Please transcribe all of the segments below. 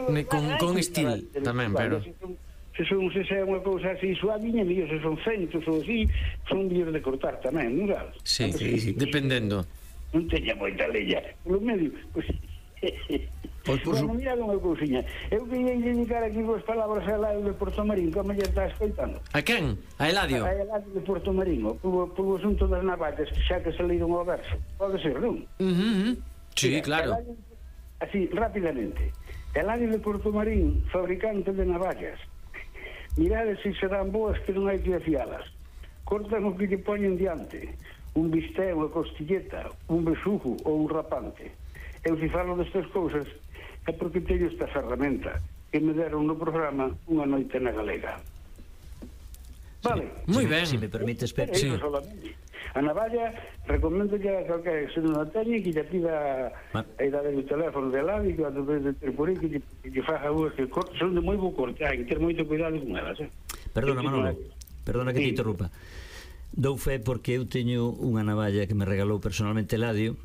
Con estilo tamén, pero se é unha cousa así suaviña, mellor se son centos ou así, son mellor de cortar tamén, non sabes? sí, dependendo. Non teña moita leña polo medio, pois bueno, mirad unha cousiña. Eu queria dedicar aquí vos palabras a Eladio de Portomarín, como lle está escoitando. A quen? A Eladio? A Eladio de Portomarín, polo asunto das navallas, xa que se leíron ao verso. Pode ser, non? Sí, claro. Así, rápidamente. Eladio de Portomarín, fabricante de navallas. Mirade se serán boas que non hai que afialas. Cortan o que lle poñen diante. Un bistec, unha costilleta, un besugo ou un rapante. Eu se falo destas cousas é porque teño esta ferramenta que me deron no programa Unha noite na Galega. Vale. Moi ben. Si me permites, sí. A navalla recomendo que a calquera que se non a teñe que lle pida a idade do teléfono de lado e que a través de ter por aí que lle faja boas que son de moi bo corte, hai que ter moito cuidado con elas. Perdona, Manolo, perdona que te interrumpa. Dou fe porque eu teño unha navalla que me regalou personalmente Eladio.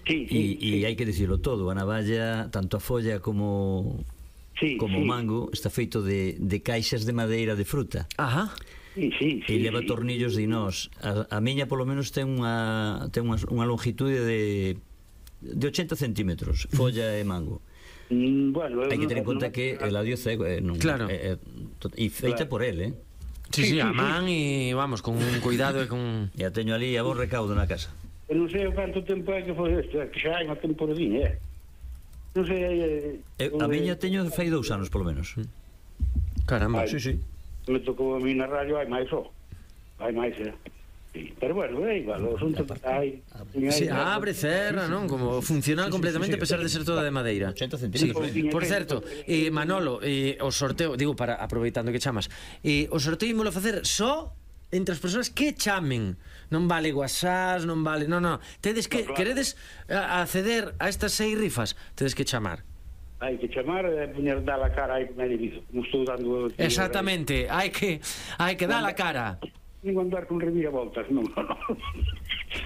E hai que dicirlo todo, a navalla, tanto a folla como o mango, está feito de caixas de madeira de fruta. Ajá. E leva tornillos de inós. A miña polo menos ten unha longitude de 80 centímetros, folla e mango. Bueno, hai que ter en conta que Eladio cego, claro, e feita por el, Sí, a man e vamos, con un cuidado e con... E a teño ali a vos recaudo na casa. Eu non sei canto tempo é que foi isto, que xa hai unha temporadinha, non sei... A miña teño fai 2 anos, polo menos. Caramba, sí. Me tocou a mí na radio, hai máis, sí. Pero bueno, é igual, o asunto hai... Sí, abre, cerra, non? Como funcional completamente, a pesar de ser toda de madeira. 80 centímetros. Por certo, Manolo, o sorteo, digo, para aproveitando que chamas, o sorteo ímolo facer só entre as persoas que chamen. Non vale WhatsApp, non vale... Non, tedes que... Queredes acceder a estas 6 rifas, tedes que chamar. Hai que chamar e poñer dar a cara aí como é debido, como estou dando... Exactamente, hai que dar a cara. Nin andar con reviravoltas, non.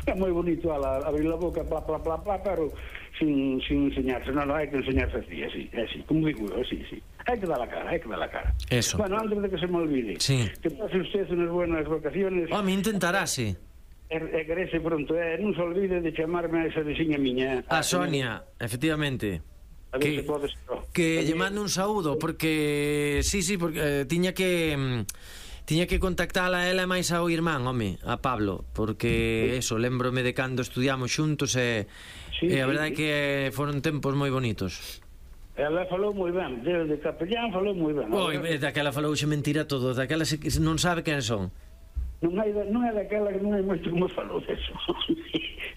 É moi bonito abrir a boca, plá, pero sin enseñarse. Non, hai que enseñarse así, como digo eu, así. Hai que dar a cara. Eso. Bueno, antes de que se me olvide, que pase usted unas buenas vacaciones. Me intentarase. E querese pronto, non se olvide de chamarme a esa veciña miña. A Sonia, efectivamente. A ver se podes... Que lle mando un saúdo, porque... Sí, porque tiña que contactala a ela e máis ao irmán, a Pablo, porque eso, lembrome de cando estudiamos xuntos e a verdade é que foron tempos moi bonitos. Ela falou moi ben, desde capellán falou moi ben. Daquela falou xe mentira todo, daquela non sabe quen son. Non é daquela que non é moito como falou deso.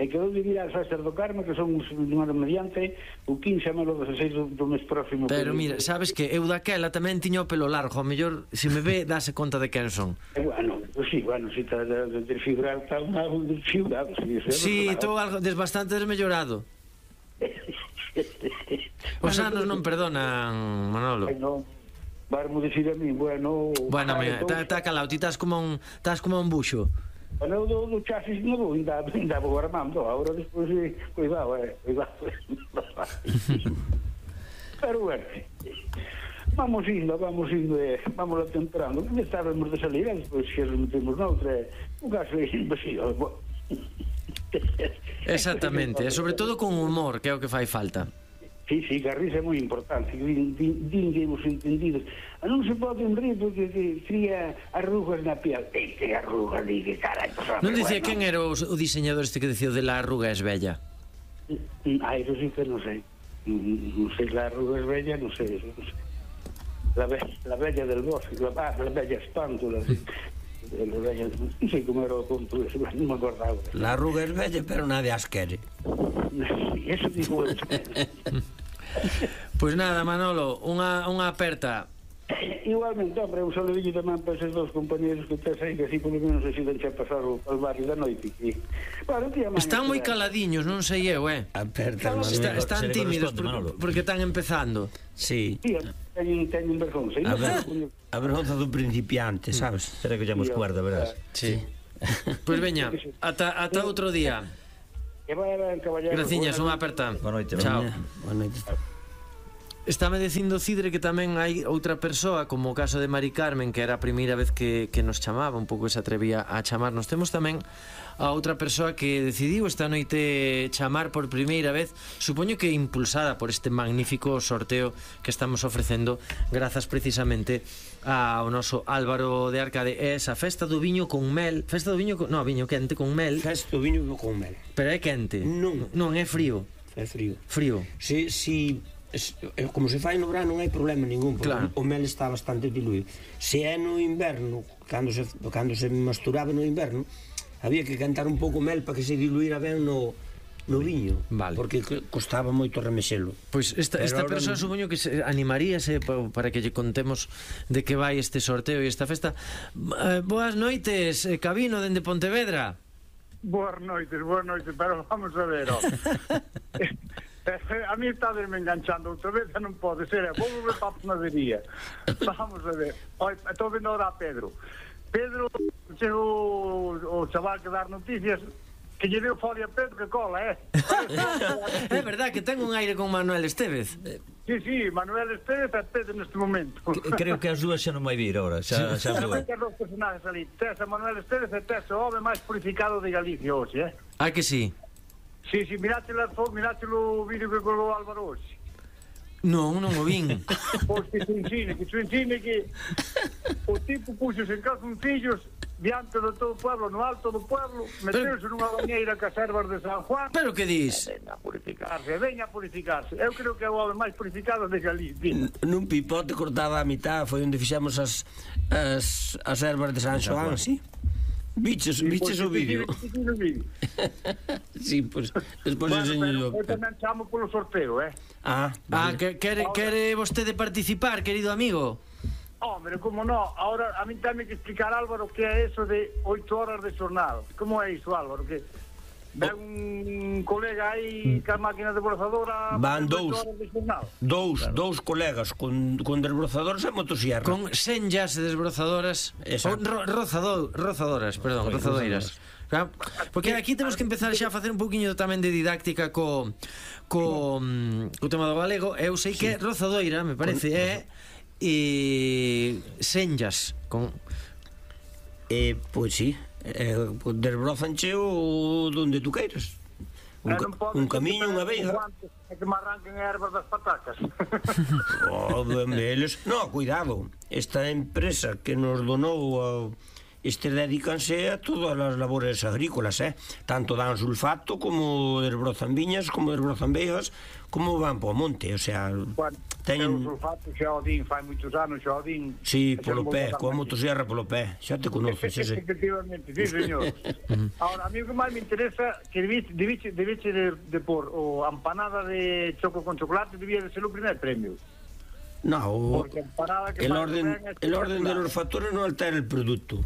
E que eu vivir a Sácer do Carmo, que son número mediante o 15 a malo 16 do mes próximo. Pero mira, sabes que eu daquela tamén tiño o pelo largo, ao mellor se me ve dase conta de quen son. Bueno, si está desfigurado, está desfigurado. Si, estou algo bastante desmellorado. Os anos non perdonan, Manolo. Non, varmo dicir a mí, bueno, mira, está calado, ti estás como un buxo. Bueno, do chasis novo ainda vou armando, agora despois cuidado. Pero bueno, vamos indo, vamos temperando. Que estábamos de salir, despois que nos metemos noutra, un caso vacío. Exactamente, e sobre todo con humor, que é o que fai falta. Sí, que a risa é moi importante, din que hemos entendido. Non se pode rir porque cría arrugas na piel. Que arrugas, que carai. Non dicía quen era o diseñador este que dicía de la arruga es bella? Eso sí que non sei. Non sei, la arruga es bella, non sei. La bella del bosque, la bella espántula, non sei como era o conto, non me acordaba. La arruga es bella, pero nadie as quere. Eso digo eu. Pois nada, Manolo, unha aperta. Igualmente, hombre, un saludillo tamén para esos dos compañeros que tes aí, que así polo menos axudan a pasar o barrio da noite. Están moi caladiños, non sei eu, Aperta, están tímidos porque están empezando. Sí. Teñen vergonza. A vergonza dun principiante, sabes? Será que llamos cuerda, verás. Sí. Pois veña, ata outro día. Que vai a caballero. Graciñas, unha aperta. Boa noite. Chao. Boa noite. Estáme dicindo Cidre que tamén hai outra persoa, como o caso de Mari Carmen, que era a primeira vez que nos chamaba, un pouco se atrevía a chamarnos. Temos tamén a outra persoa que decidiu esta noite chamar por primeira vez, supoño que impulsada por este magnífico sorteo que estamos ofrecendo grazas precisamente ao noso Álvaro de Arcade. É esa festa do viño con mel, festa do viño, no, viño quente con mel. Festa do viño con mel. Pero é quente? Non, é frío. É frío. Frío. Si como se fai no verano non hai problema ningún, porque claro, o mel está bastante diluído. Se é no inverno, cando se masturaba no inverno, había que cantar un pouco mel para que se diluíra ben no viño, vale, porque costaba moito remexelo. Pois esta persoa supoño que se animaríase para que lle contemos de que vai este sorteo e esta festa. Boas noites, Cabino, dende Pontevedra. Boas noites, pero vamos a ver, a mí está me enganchando outra vez, non pode ser, vou ver para a panadería. Vamos a ver, estou vendo ahora a Pedro, chegou o chaval que dar noticias, que lle deu folia a Pedro que cola, É verdad que ten un aire con Manuel Estévez. Sí, Manuel Estévez e Pedro neste momento. Creo que as dúas xa non vai vir ahora, xa non hai que dos personajes ali, tes a Manuel Estévez e tes o home máis purificado de Galicia hoxe, Ah, que sí? Sí, mirátelo o vídeo que colgou Álvaro hoxe. Non o vin. Pois que se ensine que o tipo puxose en calzoncillos diante de todo o pueblo, no alto do pueblo, meteuse nunha bañeira que as ervas de San Juan. Pero que dis? Veña a purificarse. Eu creo que é o home máis purificado de Galicia. Nun pipote cortado a mitad foi onde fixemos as ervas de San Xoán, sí? Biches o vídeo. Sí, pois despois enseño. Eu tamén chamo polo sorteo, Quere vostede participar, querido amigo? Hombre, como no, ahora a mí tamén que explicar, Álvaro, que é eso de 8 horas de xornal. Como é iso, Álvaro? Que ven un colega aí ca máquina desbrozadora. Van dous colegas con desbrozadores e motosierra. Con senllas desbrozadoras. Rozadoras, perdón, rozadoiras. Porque aquí temos que empezar xa a facer un pouquiño tamén de didáctica co tema do galego. Eu sei que rozadoira, me parece, é senllas con... Pois sí, desbrozanche o donde tú queiras. Un camiño, unha veiga. É que me arranquen ervas das patacas. No, cuidado. Esta empresa que nos donou dedícanse a todas as labores agrícolas, tanto dan sulfato como desbrozan viñas, como desbrozan veigas, como van po monte, o sea, teñen sulfato, xa o din, fai moitos anos xa o din. Sí, polo pé, coa motosierra polo pé, xa te conoces ese. Efectivamente, sí, señor. Ahora, a mí o que máis me interesa que debiche de por o empanada de choco con chocolate debía de ser o primer premio. No, el orden de los factores non altera el producto.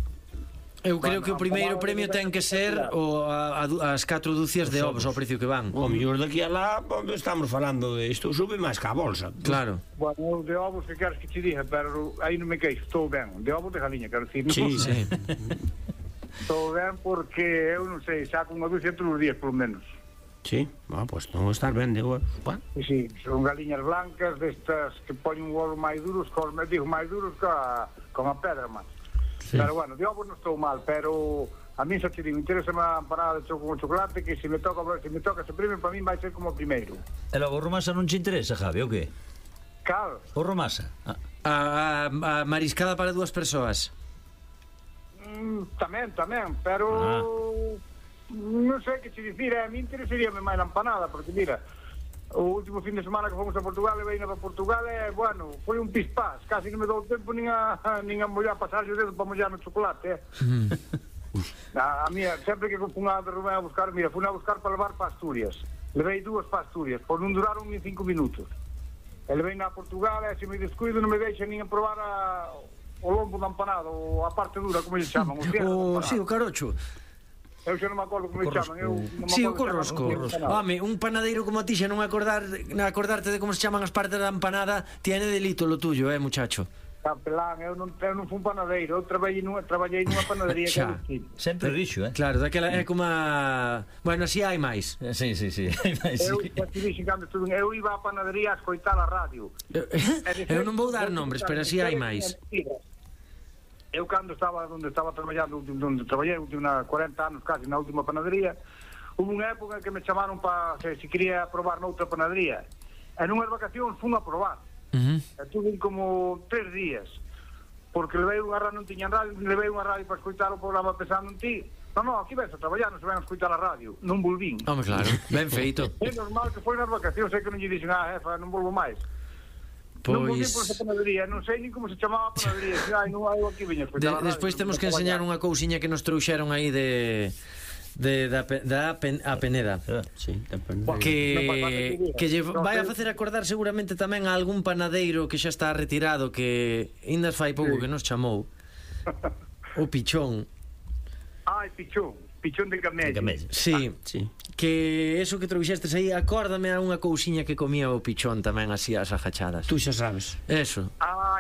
Eu creo que o primeiro premio ten que ser as 4 dúcias de ovos ao precio que van. O mellor daqui a lá estamos falando de isto, sube máis que a bolsa. Claro. Bueno, de ovos que queres que te diga, pero aí non me queixo, estou ben. De ovos de galiña, quero dicir. Sí. Estou ben porque eu non sei, saco unha dúcia todos os días, polo menos. Sí, pois non estar ben de ovos. Sí, son galiñas blancas destas que poñen un ovo máis duros, máis duros con a pedra, man. Sí. Pero bueno, de ovos non estou mal, pero a mí xa te digo, interesa a empanada de choco con chocolate, que se me toca ese premio, para mí vai ser como o primeiro. E logo o romasa non te interesa, Javi, o que? Cal? O romasa? A mariscada para 2 persoas. Tamén, pero non sei que te dicir, a mí interesaríame máis a empanada, porque mira, o último fin de semana que fomos a Portugal e veina para Portugal bueno, foi un pispás, casi non me dou tempo nin a mollar, pasar o dedo para mollar no chocolate, a mía, sempre que fun a Rubén a buscar, mira, fun a buscar para levar para Asturias, levei 2 para Asturias, por non duraron ni 5 minutos, e levei na Portugal e se me descuido non me deixan nin a probar o lombo da empanada, ou a parte dura, como lle chaman, sí, o carocho. Eu xa non me acordo como chaman. Sí, o corrosco. Home, un panadeiro como a ti xa non acordarte de como se chaman as partes da empanada, tiene delito lo tuyo, muchacho. Capelán, eu non fui panadeiro, eu traballei nunha panadería que Xa. Sempre dixo, Claro, daquela é como a... Bueno, así hai máis. Sí, hai máis. Eu iba á panadería a escoitar a radio. Eu non vou dar nombres, pero así hai máis. Eu cando estaba onde estaba traballando, onde traballei última 40 anos casi na última panadería, hubo unha época que me chamaron para se quería probar noutra panadería. E nunhas vacacións fun a probar. Tuve como 3 días porque levei unha radio, non tiñan radio, levei unha radio para escoitar o programa pensando en ti. Non, aquí ves a traballar, non se ven a escoitar a radio, non volvín. Home, claro, ben feito. É normal que foi nas vacacións, sei que non lle dixen jefa, non volvo máis. Non volví por esa panadería, non sei nin como se chamaba a panadería. Non hai aquí viña a escoitar a radio. Despois temos que enseñar unha cousiña que nos trouxeron aí da Peneda. Sí, da Peneda. Que lle vai a facer acordar seguramente tamén a algún panadeiro que xa está retirado, que ainda fai pouco que nos chamou. O Pichón. Pichón de camello. Sí. Que eso que trouxestes aí, acórdame a unha cousiña que comía o Pichón tamén así as ajachadas. Tú xa sabes. Eso.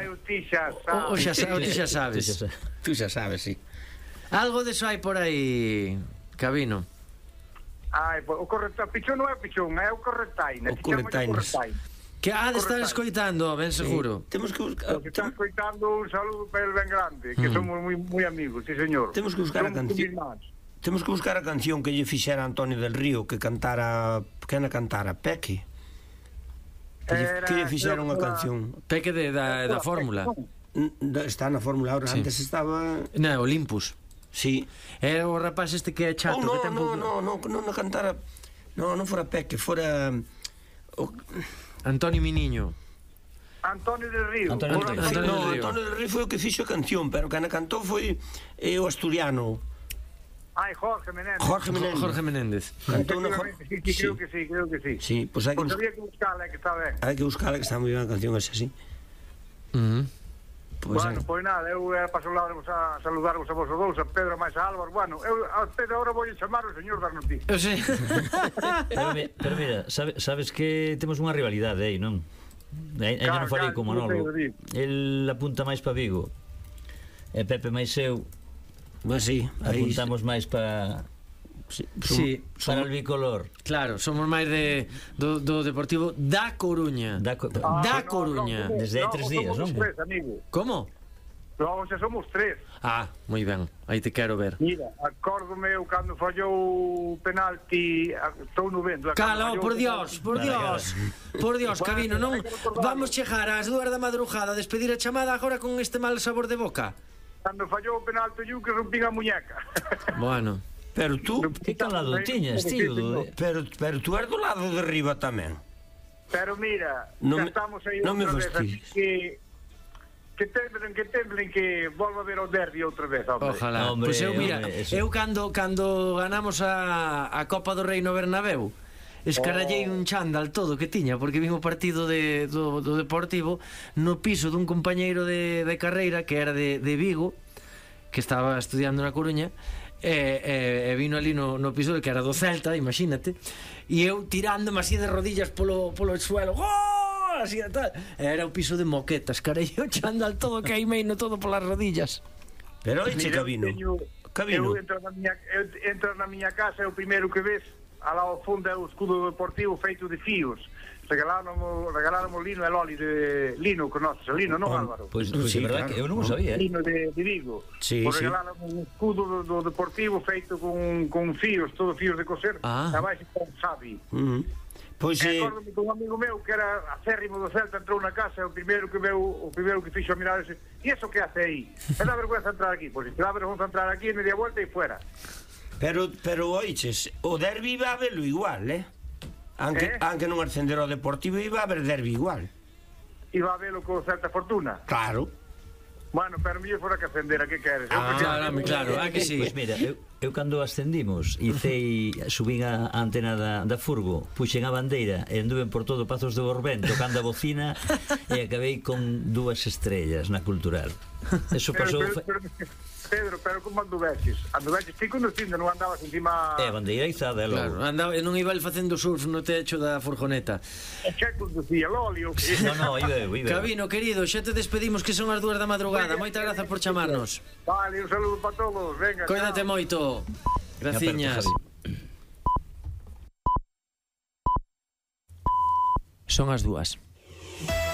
Eu ti xa sabes. Ti xa sabes. Tú xa sabes, sí. Algo deso hai por aí, Cabino. O correctaine, Pichón non é Pichón, é o correctaine. O correctaine. Que de estar escoitando, ben seguro. Temos que buscar... Está escoitando un saludo para el ben grande, que somos moi amigos, sí señor. Temos que buscar a canción. Temos que buscar a canción que lle fixera Antonio del Río, que cantara... Que na cantara? Peque. Que lle fixera unha canción. Peque da Fórmula. Está na Fórmula ahora, antes estaba... Na Olympus. Sí. Era o rapaz este que é chato, que ten pouco... Non cantara... Non fora Peque, fora... Antonio Miniño. Antonio del Río. Antonio del Río foi o que fixo a canción, pero que na cantou foi o asturiano. Jorge Menéndez. Jorge Menéndez. Cantou na creo que sí. Sí, pois hai que había que buscarla, que está ben. Hai que buscarla, que está moi ben a canción esa, sí. Bueno, pois nada, eu paso a saludarvos a vos dous, a Pedro máis a Álvaro. Bueno, eu a Pedro agora vou chamar o señor das noticias. Eu sei. Pero mira, sabes que temos unha rivalidade aí, non? Ainda non falei con Manolo. El apunta máis para Vigo. E Pepe máis eu. Mas sí, apuntamos máis para... Sí, para el bicolor. Claro, somos máis do Deportivo da Coruña. Da Coruña. Desde hai 3 días, non? Somos 3, amigo. Como? Non, xa somos 3. Moi ben, aí te quero ver. Mira, acórdome eu cando fallou o penalti, estou no vendo. Cala, por Dios, Cabino, non vamos chegar ás 2 da madrugada a despedir a chamada agora con este mal sabor de boca. Cando fallou o penalti eu que rompín a muñeca. Bueno. Pero tú, que calado tiñas, tío? Pero tú eres do lado de arriba tamén. Pero mira, xa estamos aí outra vez, que temblen, que volva a ver o derbi outra vez, hombre. Ojalá. Pois eu, mira, eu cando ganamos a Copa do Rei no Bernabéu, escarallei un chándal todo que tiña, porque vimos o partido do Deportivo no piso dun compañeiro de carreira que era de Vigo, que estaba estudiando na Coruña, e vino ali no piso que era do Celta, imagínate, e eu tirándome así de rodillas polo suelo, gol, así e tal, era o piso de moquetas, carei o chándal todo queimeino todo polas rodillas. Pero oiche, Cabino, eu entro na miña casa e o primeiro que ves alá ao fundo é o escudo deportivo feito de fios. Regaláronmo Lino e Loli de Lino con nós, Lino, non Álvaro? Pois é verdade que eu non o sabía. Lino de Vigo. Regaláronmo un escudo do deportivo feito con fios, todos fios de coser, e vais con Xavi. Pois acórdome con un amigo meu que era acérrimo do Celta, entrou na casa e o primeiro que fixo a mirar ese, e eso que hace aí? É da vergüenza entrar aquí, pois se dá vergüenza entrar aquí e media vuelta e fuera. Pero oiches, o derbi va a verlo igual, Anque non ascender ao Deportivo iba a haber derbi igual. Iba a verlo con certa fortuna. Claro. Bueno, pero mellor fora que ascender, a que queres? Claro, a que sí. Pois mira, eu cando ascendimos subín a antena da furgo, puxen a bandeira e anduven por todo Pazos de Borbén tocando a bocina e acabei con 2 estrellas na Cultural. Eso pasou... Pedro, pero como anduveches? Anduveches ti conducindo, non andabas encima... bandeira izada, Claro, andaba, non iba el facendo surf no techo da furgoneta. E que conducía, Loli, o que? No, iba. Cabino, querido, xa te despedimos que son as 2 da madrugada. Moitas grazas por chamarnos. Vale, un saludo para todos, venga. Cóidate moito. Graciñas. Son as 2.